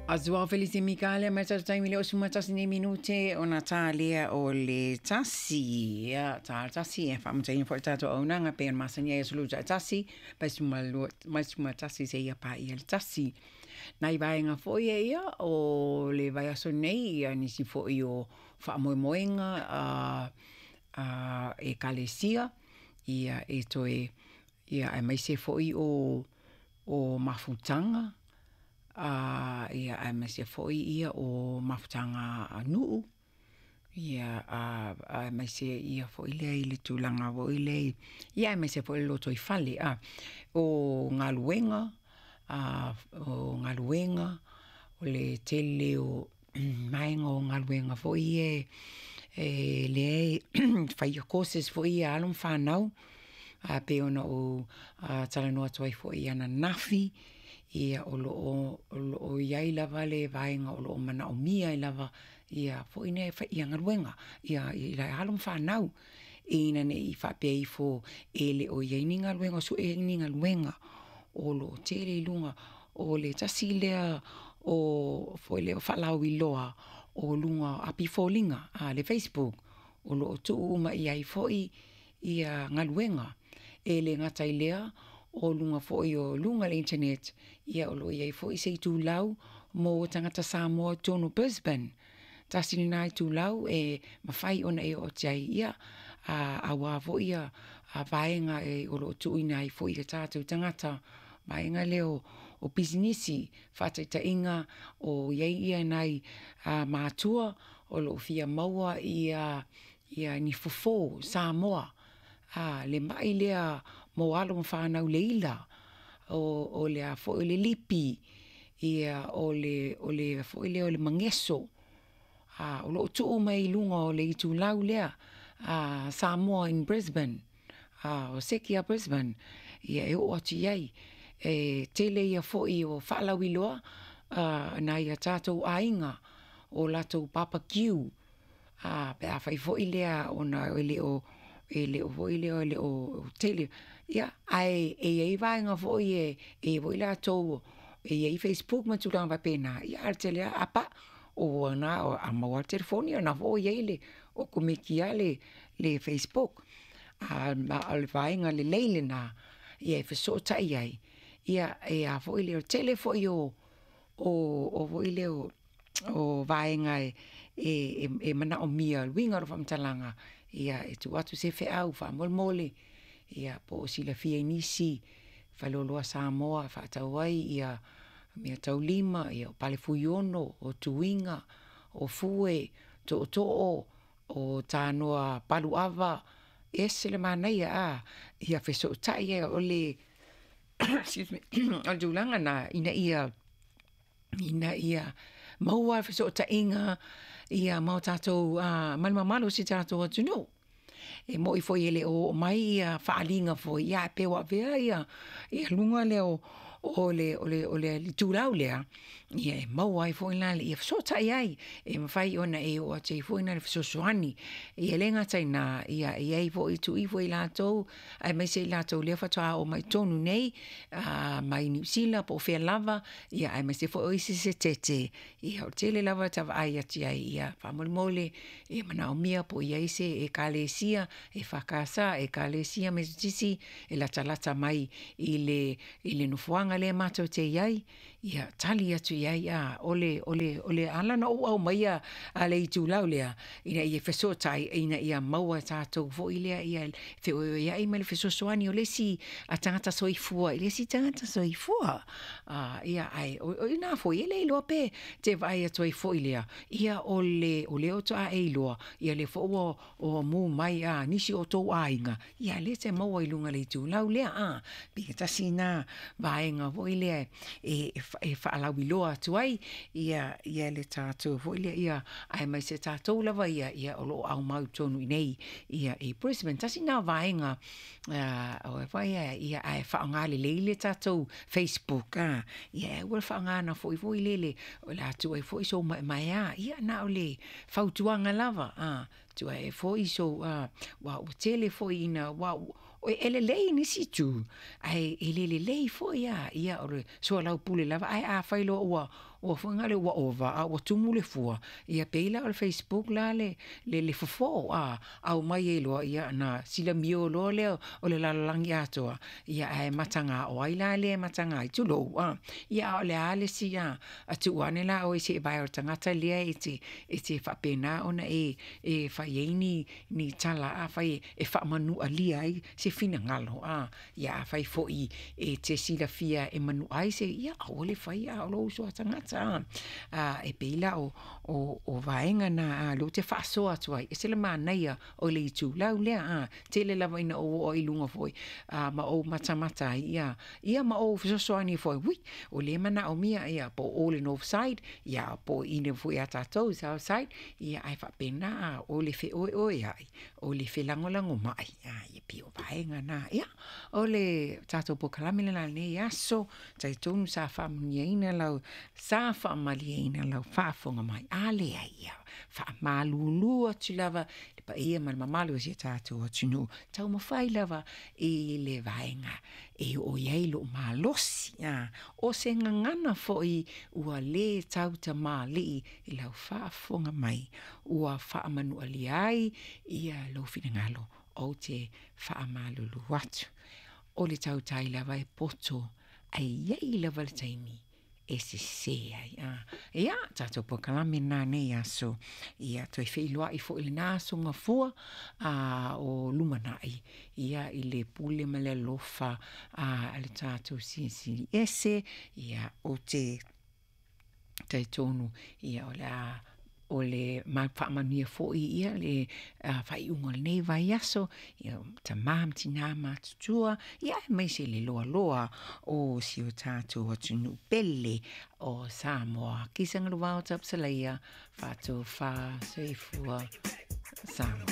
A Joao Felice Mikale mai sa taimi le osu matasi nei minute ona tā lea o le tasi. Ia, tā le tasi e whaamataina fo tātou aunaga pe ona masani ai sulu ta tasi, pai suma lua, mai suma tasi se ia pa ia le tasi. Nai vaenga foi e ia o le vaiaso nei ia nisi foi o whaamoemoenga a ekalesia ia e toe ia aemaise foi o mafutaga ia aemaise foi ia o mafutaga a nuu ia aemaise ia foi lea i le tulaga foi lea ia aemaise foi le lotoifale o galuega o galuega o le tele o vaega o galuega foi ia e lea e faia courses foi ia a alo ma fanau e pei ona ou talanoa atu ai foi ananafi. Ia o lo o i ai lava le vaega o lo o manaomia ai lava ia foi nei ia galuega ia i alo ma fanau ina ne i faapea ifo e le o i ai ni galuega o sue ai ni galuega. O lo o tele i luga o le tasi lea o foi lea o faalauiloa o luga o api foliga le Facebook o lo o tuu uma i ai foi ia galuega. E le gata i lea o luga foi o luga o le internet ia o lo o i ai foi se itulau mo tagata Samoa i totonu o Brisbane. Tasi lena itulau e mafai ona e oo atu i ai ia aua foi ia vaega o lo o tuuina ai foi i tatou tagata vaega lea o pisinisi faataitaiga o i ai ia nai matua o lo o fia maua ia ni fofo Samoa le mai lea mo alo ma fanau le ila o le a foi le lipi ia o le foi lea o le mageso o lo o tuu mai i luga o le itulau lea Samoa in Brisbane o Sekea Brisbane ia e oo atu i ai. E tele ia foi o faalauiloa nai a tatou aiga o latou barbecue pe a fai foi lea ona e le o foi lea e le o tele ia ae e i ai vaega foi e i ai foi latou e i ai Facebook ma tulaga faapena ia ae o le tele lava a pau o lena a maua lava le telefoni o lena foi ua i ai le okomeki lava le Facebook. A o le vaega lelei lena e fesootai ai ia e a foi lea o le tele foi o foi lea o vaega e manaomia, le uiga o lau faamatalaga, ia e tuu atu se feau faamolemole ia po o silafia e nisi faleoloa Samoa e faatau ai ia meataulima, o pale fuiono, o tuiga, o fue, tootoo, o tanoa paluava, e ese le manaia ia fesootai ai o le o le tulaga lena ina ia maua fesootaiga ia ma o tatou ma le mamalu o si o tatou atunuu. E moi foi e le o oo mai ia faaaliga foi ia ae pei ua avea ia luga lea o le itulau lea ia e maua ai foi la ia fesootai ai e mafai ona e oo atu ai foi le fesoasoani. Ia e le gata i lena, ia e i ai foi tuu ifo e latou aemaise i latou lea faatoa oo mai i totonu nei mai Niu Sila po o fea lava ia aemaise foi o isi setete ia o le tele lava ta vaai atu i ai ia faamolemole e manaomia po o i ai se ekalesia EFKS, ekalesia Metotisi e latalata mai i le nofoaga lea matou te i ai ia tali atu i ai o le ala ona ou aumaia le itulau lea ina ia fesootai ina ia maua e tatou foi lea ia feoeoeai ma le fesoasoani o le isi tagata soifua i le isi tagata soifua. Ia ae o i ina foi e le iloa pe te vaai atu ai foi lea ia o lea faatoa e iloa ia lea foi ua mu mai nisi o tou aiga ia lea e te maua i luga o le itulau lea. Pei e tasi lena vaega foi lea e faalauiloa atu ai ia le tatou foi lea aemaise tatou lava ia o lo o aumau i totonu i inei i Brisbane. Tasi lena vaega ae faaaoga lelei le tatou Facebook ia e aua le faaaogaina foi foi lele o le a tuu ai foi sou maemaea ia na o le fautuaga lava tuu ai foi sou aua ua tele foi ina aua e lelei i nisi itu ae e le lelei foi ia o le soalaupule lava ae afai loa ua. ua foi na le ua ova a ua tumu le fua, ia pei la o le Facebook la le le fofo a aumai ai loa, ia na silamio loa lea o le lalolagi atoa, ia ae mataga o ai la lea e mataga ai, tulou a. Ia a o le a le isi a tuu ane la oe se i vae o le tagata lea e te faapena ona e fai ai ni tala afai e faamanualia ai se finagalo a. Ia afai foi e te silafia e manua ai se, ia aua le faia a o lou uso a tagata a. E pei la o vaega na lea ou te faasoa atu ai, e ese le manaia o le itulau lea a. Tele lava ina ou oo ai i luga foi ma ou matamata ai, ia ma ou fesoasoani ai foi, ui, o lea e manaomia ia po o le north side, ia po o i nei foi ia tatou i le south side, ia ae faapena a, o le feoeoeai, o le felagolagomai, ia pei o vaega na. Ia, o le tatou polokalame lena i lenei aso, talitonu sa faamanuiaina lau, sa faamalieina lau faafofoga mai. A leai, ia faamalulu atu lava i le paia ma le mamalu o si o tatou atunuu, taumafai lava i le vaega e oo i ai lou malosi. O se gagana foi ua le tautamalii i lau faafofoga mai, ua faamanualia ai ia lou finagalo, ou te faamalulu atu. O le tautai lava e poto, ae i ai lava le taimi e sese ai. Ia, tatou polokalame lena i lenei aso. Ia, toe feiloai foi i lena aso Gafua o lumanai, ia, i le pule ma le alofa a le tatou Silisili Ese. Ia, ou te talitonu, ia, o le a o le faamanuia foi ia le faaiuga o lenei vaiaso, ia, tama ma tina matutua, ia, aemaise le loaloa o si o tatou atunuu pele o Samoa. Kisa Galuvao Tapsalaia, faatofa soifua Samoa.